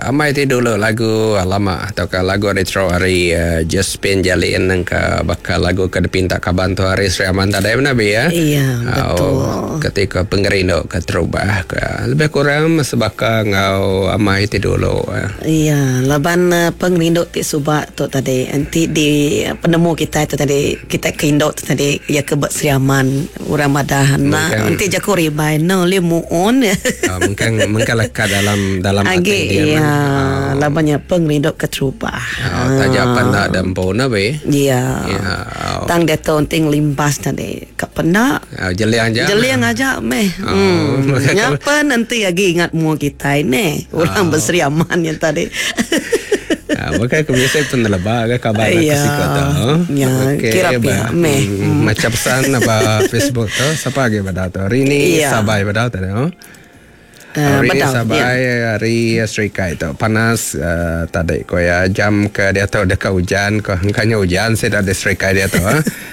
Amai ti dulu lagu lama tauka lagu retro ari Josephine Jalin nengka baka lagu ke dipinta kaban tu ari Sri Aman tadi meh nabi ya. Iya betul. Ketika pengerindu keterubah ke lebih kurang sebaka enggau amai ti dulu. Iya laban pengerindu ti suba tu tadi enti di penemu kitai tu tadi kitai ke indu tu tadi iya ke ba Sri Aman. Orang madah enda enti jaku ribai enda ulih muun. Mengkang mengkang lekat dalam dalam ati dia meh. Iya laban nya pengerindu keterubah. Taja pan enda ada empu ne be. Iya. Tang diatu enti ngelimpas tadi ka penda. Jeling aja. Jeling aja meh. Nya pen enti agi ingat mua kitai neh orang beseri aman nya tadi. Bukai ke bisi peneleba ke kaban aku siku tu. Ya, okay, kira pia meh. Macam pesan ba Facebook tu, siapa agi bada tu? Hari ni ya. Sabai bada tu. Oh. Hari ni sabai ya. hari Serikai tu. Panas uh, tadi ko ya jam ke dia tu deka hujan ko engkanya hujan sida di Serikai dia tu.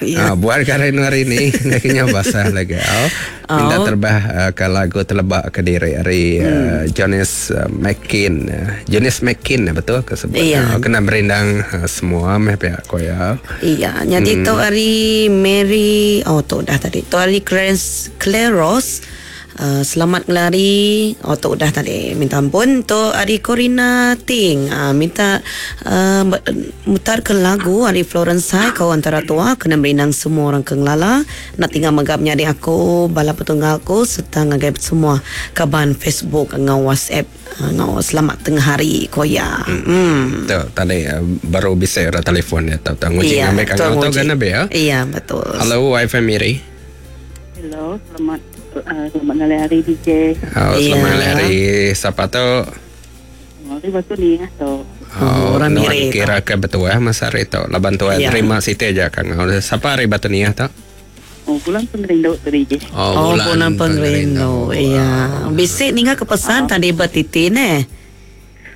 Ya. Uh, buat kare hari ni kena basah lagi. Oh. Minta terbah ke lagu teleba ke diri ari Jonis Makin. Jonis Makin betul ke sebut? Iya. Kena merindang semua meh pia ko iya. Iya, nyadi tu ari Mary, oh tu udah tadi. Tu ari Clarence Claros. Uh, selamat ngelari. Oh tu udah tadi. Minta ampun. Tu ari Corina Ting. Uh, minta uh, mutar ke lagu ari Florence Sai kau antara tua kena merindang semua orang ke ngelala. Enda tinggal mega menyadi aku, bala petunggal aku sereta ngagai semua kaban Facebook enggau WhatsApp enggau selamat tengah hari, ku iya. Hmm. Tu tadi baru bisi orang telefon dia tu. Nguji Iya, ngambil betul kangau tu nguji. kan abi ya. Iya, betul. Hello YFM Miri. Hello, selamat uh, selamat ngalih hari DJ. Oh, Iya. selamat ngalih hari. Siapa tu? Hari batu ni ah tu. Oh, orang nuan Miri tu. kira ke betul eh masa hari tu. Laban tu Ya. terima siti aja kangau. Siapa hari batu ni ah tu? Oh, bulan pengerindu tu DJ. Oh, bulan pengerindu. Iya. Bisi ninga ke pesan tadi betiti neh.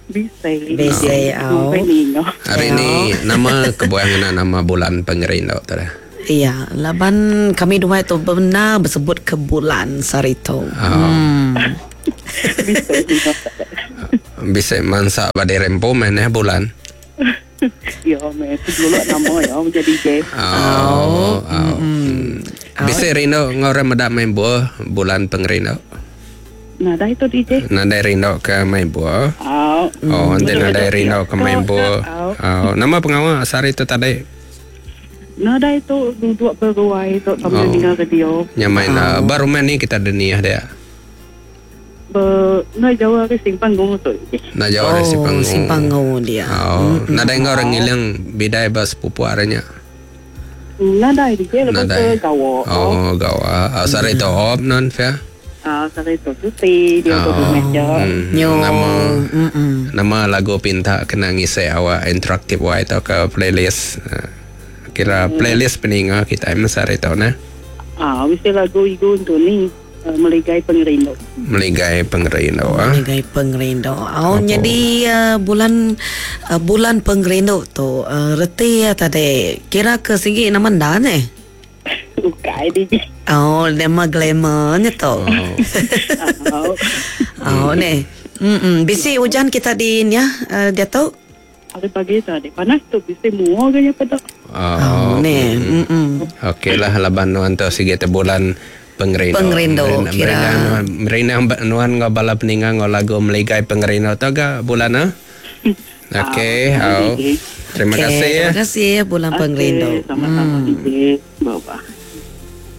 Bisa. Bisa, au. Sampai ninga. Hari ni nama kebuah ngena nama bulan pengerindu tu dah. Iya, laban kami dua tu benar bersebut ke bulan sehari tu. Oh. Bisa ninga. Bisa mansa ba diri empu meh neh bulan. Ya, meh tu dulu nama ya menjadi DJ. Oh. oh. Hmm. Bisa rindu ngau orang meda main buah bulan pengerindu. Nah, dah itu DJ. Nadai rindu ke main buah. Au. Oh, nanti nadai rindu ke main buah. Oh, nama pengawa sehari tu tadi? Nah, dah itu duduk beruai tu sambil Oh. dengar radio. Nya main oh. baru main ni kita dunia dia. Ber, nah jauh hari simpang gunung tu. Nak jauh dari Oh, Sipanggu. Simpangu dia. Oh, nadai ngau orang ngilang bidai ba sepupu aranya. Nah, dah DJ lepas Nadai. tu gawa. Oh, gawa. Oh, sehari tu op non fa. Ah, sehari tu cuti dia tu rumah je. Nyo. Nama Mm-mm. nama lagu pinta kena ngisi awak interaktif wai atau ke playlist. Ah, Kira playlist peninga kita masa hari tu nah. Ah, mesti lagu igu untuk ni uh, meligai pengerindu. Meligai pengerindu ah. Meligai pengerindu. Oh, jadi uh, bulan uh, bulan pengerindu tu uh, reti ya tadi. Kira ke sigi nama dah ni. Ukai DJ. Oh, nama glamournya tu. Oh. Oh. Oh, ni. Mm-mm. Bisi hujan kita di ni ya, uh, dia tu. Hari pagi tadi panas tu bisa mua ke pada. Oh. Oh, ni. Mm-mm. Okey lah laban nuan tu sigi te bulan pengerindu. Pengerindu, kira. Merindang nuan merindang nuan ngau bala peninga ngau lagu meligai pengerindu tu ga bulan ah. Okey, Ah, au. Terima Okey, kasih ya. Terima kasih ya bulan pengerindu. Sama-sama DJ. Bye-bye.